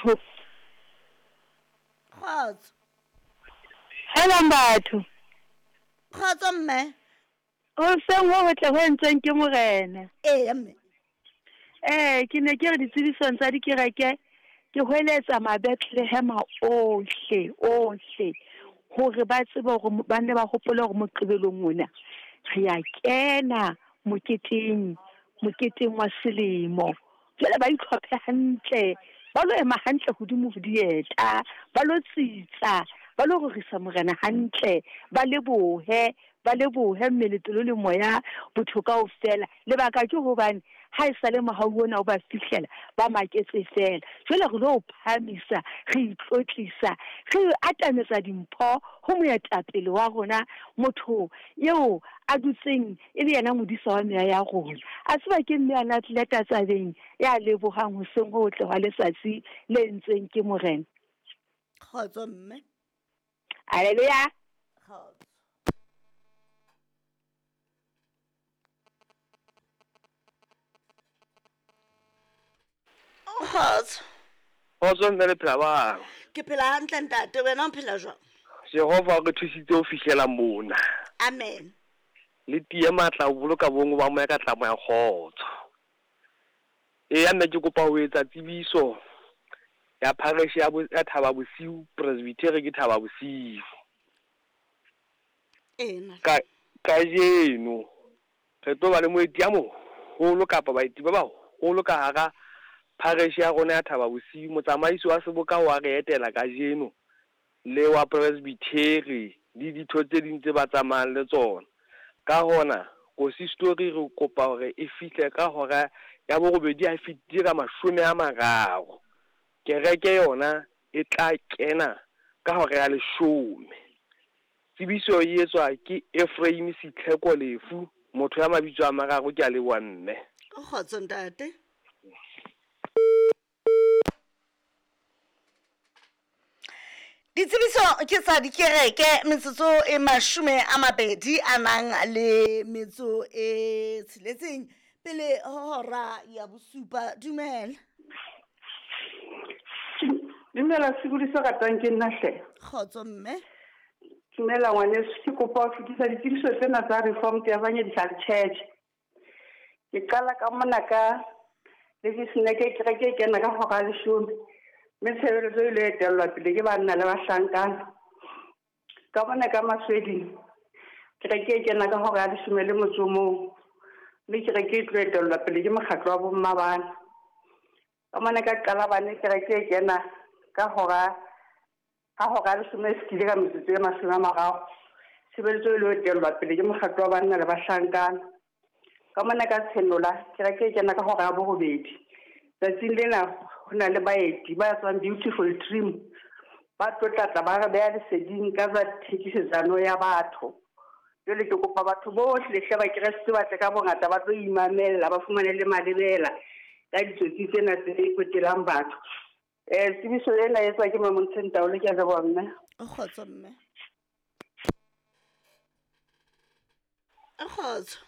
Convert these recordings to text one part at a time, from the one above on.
Batho. Kgotso. Helang batho. Kgotso mme. Hoseng ho hotle ho entsweng ke Morena. Eya mme. Ee, ke ne ke re ditsebisong tsa dikereke ke hweletsa Mabethlehema ohle ohle hore ba tsebe hore ba nne ba hopole hore Moqebelong ona re ya kena moketeng moketeng wa selemo. Jwale ba itlhophe hantle, ba lo ema hantle hodimo ho dieta, ba lo tsitsa, ba lo rorisa Morena hantle, ba lebohe, ba lebohe mmele, pelo le moya, botho kaofela. Lebaka ke hobane ha e sale mohau ona o ba fihlela, ba maketse feela. Jwale re lo o phahamisa, re itlotlisa, re atametsa dimpho ho moetapele wa rona, motho eo a dutseng e le yena modisa wa meya ya rona. A tseba ke mme a na tlile tatsabeng ya lebohang hoseng ho hotle hwa letsatsi le entsweng ke Morena. Kgotso mme. Haleluya. Kgotso. Kgotso. Kgotso mme le phela bang? Ke phela hantle ntate, wena o phela jwang? Jehova o re thusitse ho fihlela mona. Amen. Le tiye matla ho boloka bonngwe ba moya ka tlamo ya kgotso. Eya mme ke kopa ho etsa tsebiso ya parish ya, ya Thaba Bosiu, Presbytery ke Thaba Bosiu. Ena. Ka kajeno re tlo ba le moeti ya moholo kapa baeti ba baholo ka hara parish ya rona ya Thaba Bosiu. Motsamaisi wa seboka wa re etela kajeno le wa Presbytery le ditho tse ding tse ba tsamayang le tsona. Ka hona, kosistori re kopa hore e fihle ka hora ya borobedi ha e fetile ka 30. Kereke yona e tla kena ka hora ya 10. Tsebiso e etswa ke Ephraim Sitlheko Lefu, motho ya mabitso a mararo. Ke a leboha mme. Kgotso ntate. Ditsebiso ke tsa dikereke metsotso e 20 a nang le metso e tsheletseng pele ho hora ya bosupa. Dumela. Dumela sebodi se ratang ke nna hle. Kgotso mme. Dumela ngwaneso, ke kopa ho fetisa ditsebiso tsena tsa Reformed Evangelical Church. Ke qala ka mona ka Leviseneke kereke e kena ka hora ya leshome mme tshebeletso e ile etellwa pele ke banna le bahlankana. Ka mona ka Masweding kereke e kena ka hora ya leshome le motso o mong mme kereke e tlo etellwa pele ke mokgatlo wa bomma bana. Ka mona ka Qalabane kereke e kena ka hora ha hora ya leshome e fetile ka metsotso e 30. Tshebeletso e lo etellwa pele ke mokgatlo wa banna le bahlankana. Ka mona ka Tshenola kereke e kena ka hora ya borobedi. Tsatsing lena ho na le baeti ba tswang Beautiful Dream ba tlo tlatla ba re beha leseding ka tsa thekisetsano ya batho. Jwale ke kopa batho bohle hle ba Kreste ba tle ka bongata ba tlo imamella ba fumane le malebela ka ditsotsi tsena tse kwetelang batho. Tsebiso ena e etswa ke Mamontsheng Taolo. Ke a leboha mme. Kgotso mme. Kgotso.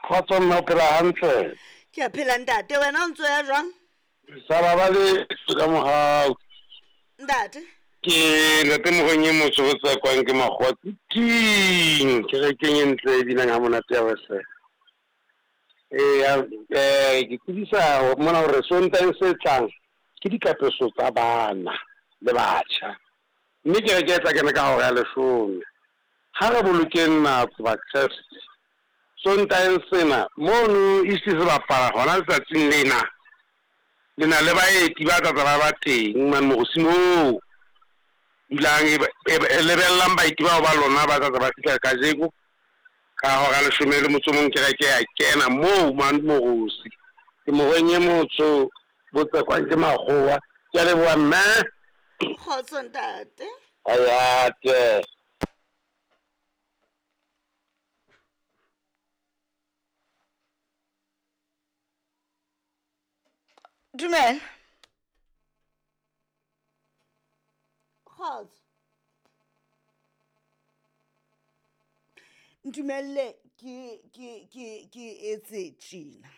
Kgotso mme, o phela hantle? Ke a phela ntate, wena o ntso ya jwang? Sa ba le ka mohau. Ntate. Ke ntate Mogoeng e motsho go tsekwang ke makgowa tsiting kerekeng e ntle e binang ha monate ya Wesele. Eya, ke tsebisa mona hore Sontaheng se tlang ke dikapeso tsa bana le batjha mme kereke e tla kena ka hora ya 10. Ha re bolokeng nako Bakreste. Sontaheng sena mono East se bapala hona letsatsing lena. Le na le baeti ba tla tla ba ba teng mane Morosi moo. Dulang e lebellang baeti bao ba lona ba tla tla ba fihla kajeko ka hora ya 11 kereke ya kena moo mane Morosi. Ke Mogoeng e motsho bo tsekwang ke makgowa. Ke a leboha mme. Kgotso ntate. Ayate. Dumela. Kgotso. Ntumelle ke ke ke ke etse tjena.